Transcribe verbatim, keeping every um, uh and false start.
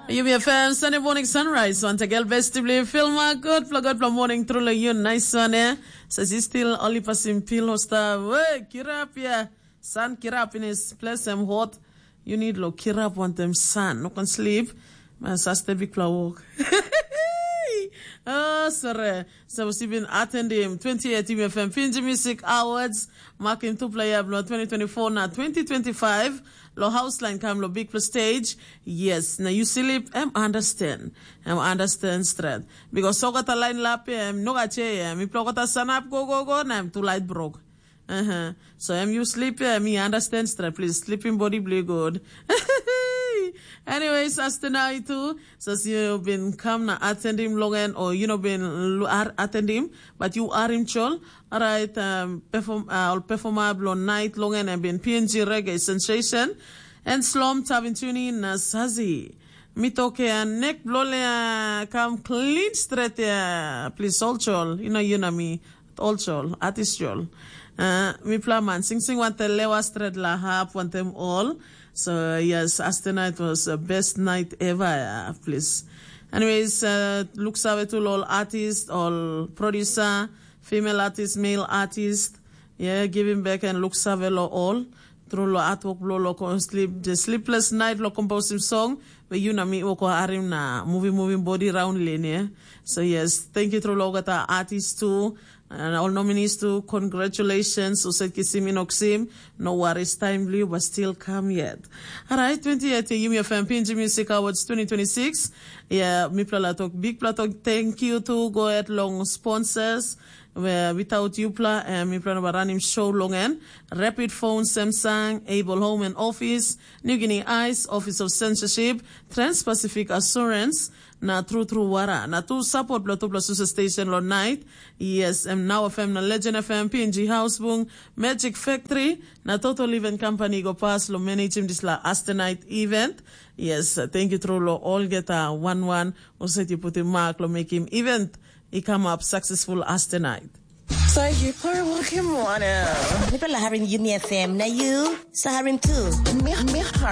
Yumi F M Sunday Morning Sunrise, once again, best to believe, feel my good, feel good, feel morning, truly you, nice one, eh? Says he still only passing pillow star. Hey, kirapia. Sun kirap in his place, I'm hot. You need lo kirap, want them sun. No can sleep. Man, saste big flower walk. Oh, sorry. So, we been attending twenty eighteen F M Pinji Music Awards. Makim tu play up lo twenty twenty-four na twenty twenty-five. Lo house line kam lo big plus stage. Yes, na you sleep, em understand. Em understand straight. Because so got a line lap, em no got che, em. If lo got a sun up, go, go, go, na em too light broke. Uh-huh. So em you sleep, yeah, me understand straight, please. Sleeping body blue good. Anyways, as tonight too, so you been come na attend him long end or you know been lu- ar- attend him, but you are him chol. All right, um, perform uh, or performer blow night long end and been P N G reggae sensation and slom tabin tuning na sazi. Mi toke a nek blole a kam clean straight ya, please, all chol, you know, you know me, all chol, artist chol. Uh, mi plaman sing sing want the lewa straight la hap want them all. So yes, Aste night was the best night ever, yeah, please. Anyways, uh, looks ave to all artist, all producer, female artist, male artist. Yeah, giving back and looks ave lo all. Tru lo artwork blo lo kon sleep, the sleepless night lo composing song. But you know me, woko arim na moving, moving body round lane, yeah. So yes, thank you tru lo gata artist too. And all nominees too, congratulations. So said kisim inoksim, no worries, time blue, but still come yet. All right, twenty-eight Yumi F M P N G Music Awards twenty twenty-six. Yeah, mi plala talk, big plala talk. Thank you to go at long sponsors. Where without you pla, um, mi plana ba ranim show long en. Rapid Phone, Samsung, Able Home and Office, New Guinea Ice, Office of Censorship, Trans-Pacific Assurance, na True True Wara. Na tu support blo tupla susa station lo night. Yes, em Now F M na Legend F M, P N G House Bung, Magic Factory, na Total Event Company go pass lo manage him this la Aste night event. Yes, uh, thank you true lo all get a one one. Uset you put him mark lo make him event. He come up successful Aste night. Sa yu por wokim wanem? Mipela harim Yumi F M, na yu sa harim tu. Mi, mi